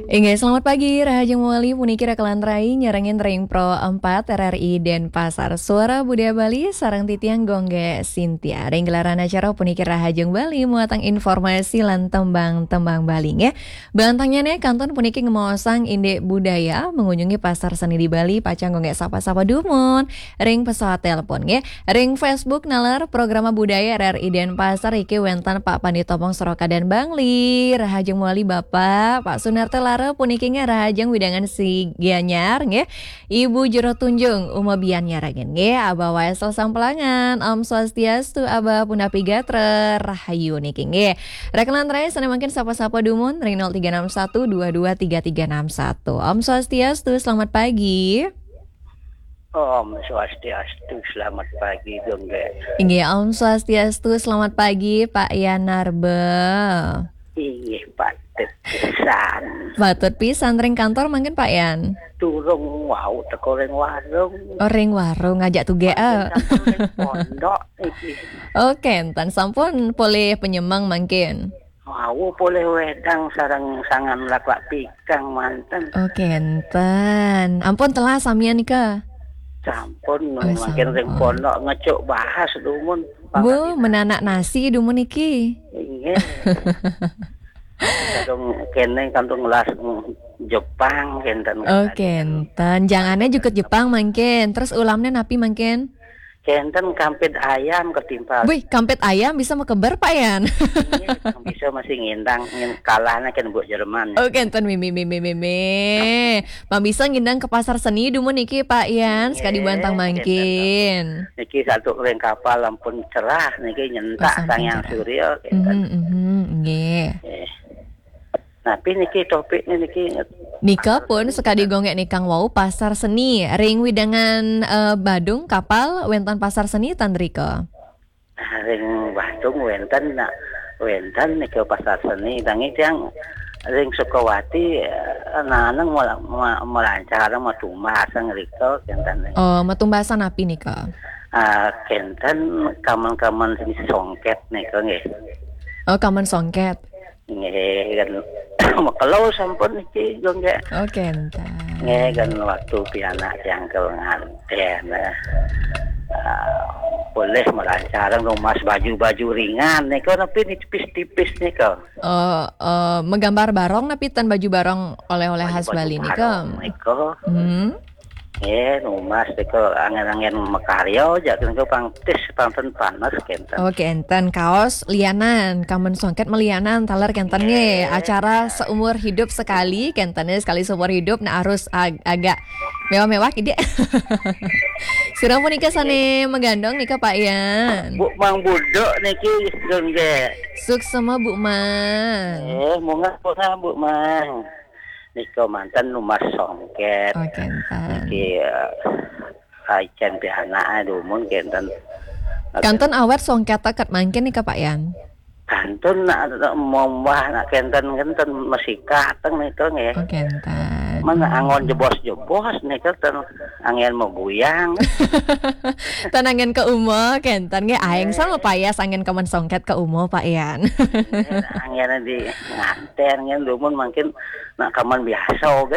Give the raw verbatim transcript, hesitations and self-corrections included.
Inggih, selamat pagi, rahajeng mawali puniki Raka lan Rai nyarengin ring Pro empat R R I Denpasar. Suara Budaya Bali sareng titiang Gung Gé Sintia. Ring gelaran acara puniki Rahajeng Bali muatan informasi lan tembang-tembang Bali nggih. Bantangnyané kantun puniki ngemaosang indik budaya mengunjungi pasar seni di Bali, pacang Gung Gé sapa-sapa dumun ring pesawat telepon nggih. Ring Facebook naler Programa Budaya R R I Denpasar iki wénten Pak Pandita Pong Soroka dan Bangli. Rahajeng mawali Bapak, Pak Sunarta Lara puniki nggih rahajeng wewidangan si Gianyar nggih. Ibu Jero Tunjung, Uma Bian nyarengin nggih, Abah Waisel Sampelangan, Om Swastiastu, Abah punapi gatra, rahayu niki nggih. Raka lan Rai sané mangkin sapa-sapa dumun ring nol tiga enam satu dua dua tiga tiga enam satu. Om Swastiastu, selamat pagi. Om Swastiastu, selamat pagi, Gung Gé. Inggih, Om Swastiastu, selamat pagi, Pak Yanarba. Inggih, patut pisan. Patut pisan, ring kantor mangkin, Pak Yan? Durung wau teka ring warung. Oh, ring warung, ngajak tugé, Mangkin ah. Sampun ring pondok iki. Oh, kénten, sampun polih penyemeng mangkin. Wau polih wedang sareng sangan laklak pikang manten. Oh, kénten. Ampun telas samian nika? Sampun, oh, mangkin ring sampun. Pondok ngecuk bahas dumun. Bu, pangkat menanak nasi dumun niki. Inggih. Kadung kéné, kadung ngelas Jepang kénten. Oh, kénten. Jangané jukut Jepang mangkin. Terus ulamné napi mangkin? Kénten kampit ayam ketimpal. Wih, kampit ayam bisa makeber, Pak Yan? Iya, bisa masih ngindang, ngin-, kalahnya kan buat Jerman. Oh, kénten mimi, mimi, mimi. Pang bisa ngindang ke pasar seni dumun niki, Pak Yan, sekadi bantang mangkin. Niki satu ring kapal ampun cerah, niki nyentak. Oh, sampun Sang Hyang cerah. Surya, kénten. Mhm, mhm, nggih. Eh. Napi niki topiknya niki? Nika pun sekadi Gung Gé nika wau pasar seni. Ring wewidangan, eh, Badung kapal wénten pasar seni ten rika? Ring Badung wénten, nak, wénten nika pasar seni. Nanging tiang ring Sukawati, eh, naneng mela-, ma-, melancar matumbas ngrika kénten. Oh, matumbasan napi nika? Ah, kénten kamen-kamen seni songket nika nggih. Oh, kamen songket. Nggih, kan makelo sampun niki, Gung Gé. Oh, kénten. Nggih, kan waktu pianak tiang ke ngantén, eh, ah, polih melancarang numbas baju-baju ringan nika, napi ni tipis-tipis nika. Oh, eh, magambar barong napi ten baju barong oleh-oleh khas Bali nika? Baju-baju barong nika. Hmm. Nggih, numbas nika anggén-anggén makarya, jak nika pang tis, pang ten panes kénten. Oh, kénten. Kaos lianan, kamen songket malianan, taler kénten nggih. Nggih. Acara seumur hidup sekali, kénten nggih, sekali seumur hidup, nah harus ag-, agak mewah-mewah kidik. Sira punika sané magandong nika, Pak Yan? Bu Mang Buduk niki, Gung Gé. Suksma, Bu Mang. Eh, munggah, munggah, Bu Mang. Nika manten numbas songket. Oh, kénten. Niki, eh, icén pianak, eh, dumun kénten. Kantun awet songket teket mangkin nika, Pak Yan? Kantun nak, nak mombah nak kénten, kénten masih kateng nika nggih. Oh, kénten. Mana anggon jebos-jebos nika ten anggén maguyang. Ten anggén ka uma, kénten nggih. Aing sama payas anggén kamen songket ka uma, Pak Yan. Nggih, anggén di ngantén nggih, dumun mangkin nak kamen biasa, oké.